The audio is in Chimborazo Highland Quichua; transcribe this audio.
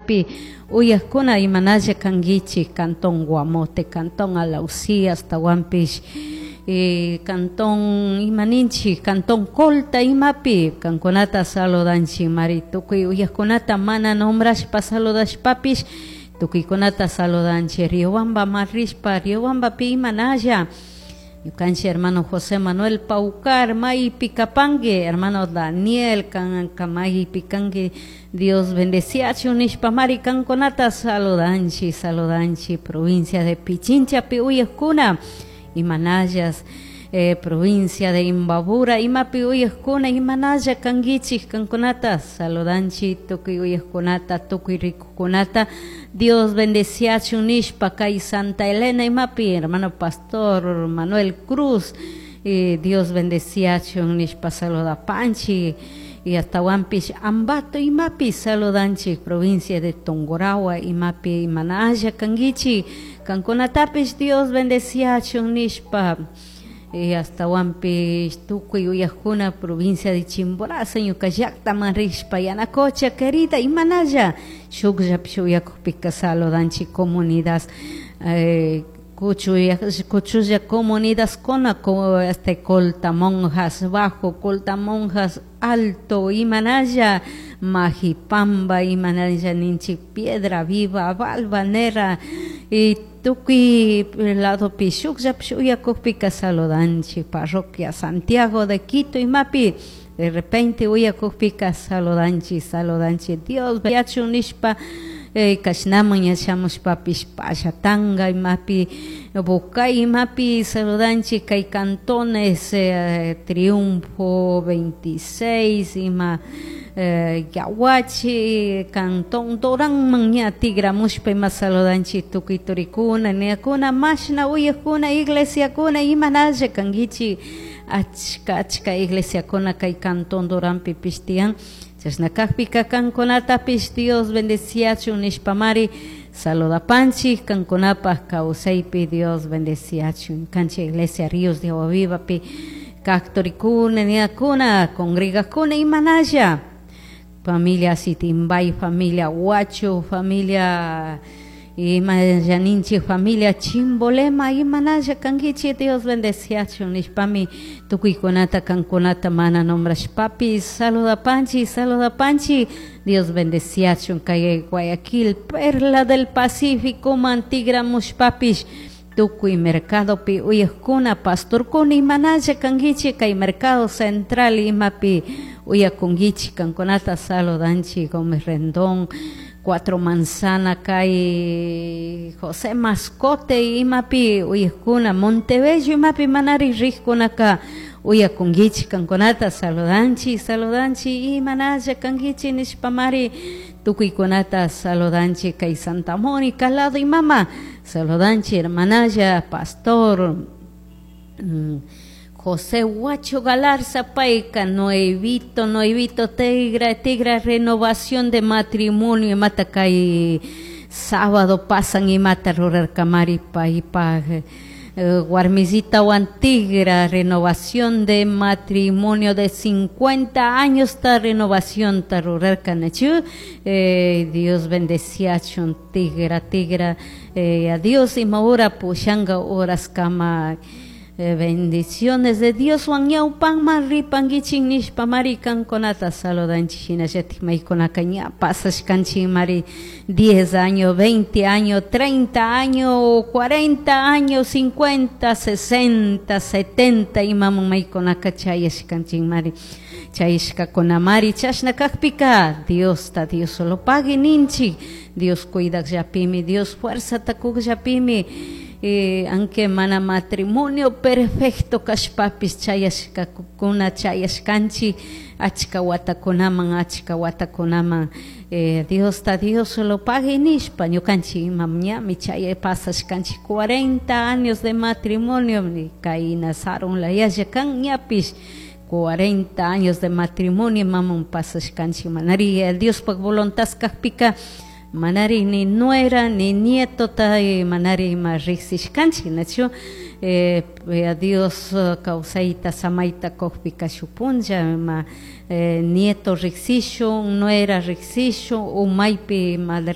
Provinciapi uyajkuna imanalla kankichik Cantón Guamote, Cantón Alausí, ashtawanpish Cantón imaninchik, Cantón Colta imapi kankunata saludanchik mari tukuy uyajkunata mana nombrashpa saludashpapish tukuykunata saludanchik. Riobamba marishpa Riobambapi imanalla ñukanchik hermano José Manuel Paucar maypi kapanki, hermano Daniel kanka maypi kanki, Dios bendeciachun nishpa mari kankunata saludanchik, saludanchik. Provincia de Pichinchapi uyajkuna imanallas, provincia de Imbabura imapi uyajkuna imanalla kankichik kankunata saludanchik, tukuy uyajkunata tukuy rikukunata Dios bendeciachun nishpa. Kay Santa Elena imapi hermano pastor Manuel Cruz, Dios bendeciachun nishpa saludapanchik. Y ashtawanpish Ambato imapi saludanchik, provincia de Tungurahua imapi imanalla kankichik kankunatapish Dios bendeciachun nishpa. Y ashtawanpish tukuy uyajkuna provincia de Chimborazo ñuka llaktaman rishpa Yanacocha querida imanalla shukllapish uyakukpika saludanchik. Comunidad kuchulla comunidadkuna este Colta Monjas Bajo, Colta Monjas Alto imanalla, Majipamba imanalla ninchik, Piedra Viva, Valvanera y tukuy ladopi shukllapish uyakukpika saludanchik. Parroquia Santiago de Quito imapi de repente uyakukpika saludanchik, saludanchik. Dios yachun nishpa kashnaman yashamushpapish Pallatanga imapi Bocay imapi saludanchik. Kay cantones Triunfo 26 ima Yaguachi cantón Doranman ña tigramushpa ima saludanchik tukuy turikuna niyakuna mashna uyakuna iglesiakuna imanalla kankichik. Achka achka iglesiakuna kay cantón Doranpi tiyan. Chashna kakpika kankunatapish Dios bendeciachun nishpamari saludapanchik. Kankunapaj kawsaypi Dios bendeciachun. Kanchik iglesia Ríos de Agua Vivapi kak turikuna niyakuna congregakuna imanalla, familia Sitimbay, familia Huacho, familia imallaninchik, familia Chimbolema imanalla kankichik. Dios bendeciachun nishpami tukuykunata kankunata mana nombrashpapish saludapanchik, saludapanchik. Dios bendeciachun. Kay Guayaquil, Perla del Pacífico mantigramushpapish tukuy mercadopi uyajkuna pastorkuna imanalla kankichik. Kay mercado central imapi uyakunkichik kankunata saludanchik. Gómez Rendón, Cuatro Manzana, kay José Mascote imapi uyajkuna, Montebello imapi manari rijkunaka uyakunkichik kankunata saludanchik, saludanchik. Imanalla kankichik nishpamari tukuykunata saludanchik. Kay Santa Mónica lado imama saludanchik hermanalla pastor José Huacho Galarza payka nuevito, nuevito tigra, tigra renovación de matrimonio imata kay sábado pasan imata rurarkamari paypaj warmisitawan tigra renovación de matrimonio de 50 años ta renovación ta rurarkanachu. Dios bendeciachun tigra, tigra, a Dios ima hora pushanga horas kama, bendiciones de Dios wan ñawpanman ripankichik nishpa mari kankunata saludanchik. Shinallatik maykunaka ña pasashkanchik mari 10 años, 20 años, 30 años, 40 años, 50, 60, 70 imamun maykunaka chayashkanchik mari chayashkakuna mari. Chashna kakpika Diosta Dios solo pagui ninchik. Dios cuidakllapimi, Dios fuerzata kukllapimi, aunque mana matrimonio perfecto kashpapis chayashkakuna chayashkanchik achka watakunaman, achka watakunaman, Diosta Dios solo pagui nishpa ñukanchik imam ñami chay pasashkanchik 40 años de matrimonio kayna sarun layalla kan ñapish 40 años de matrimonio mamun pasashkanchik manari Diospaj voluntad kakpika manari ni nuera ni nieto ta manari ima riksishkanchik nachu. A Dios kawsayta samayta kukpika shuk punlla ima nieto riksishun, nuera riksishun, umaypi madre.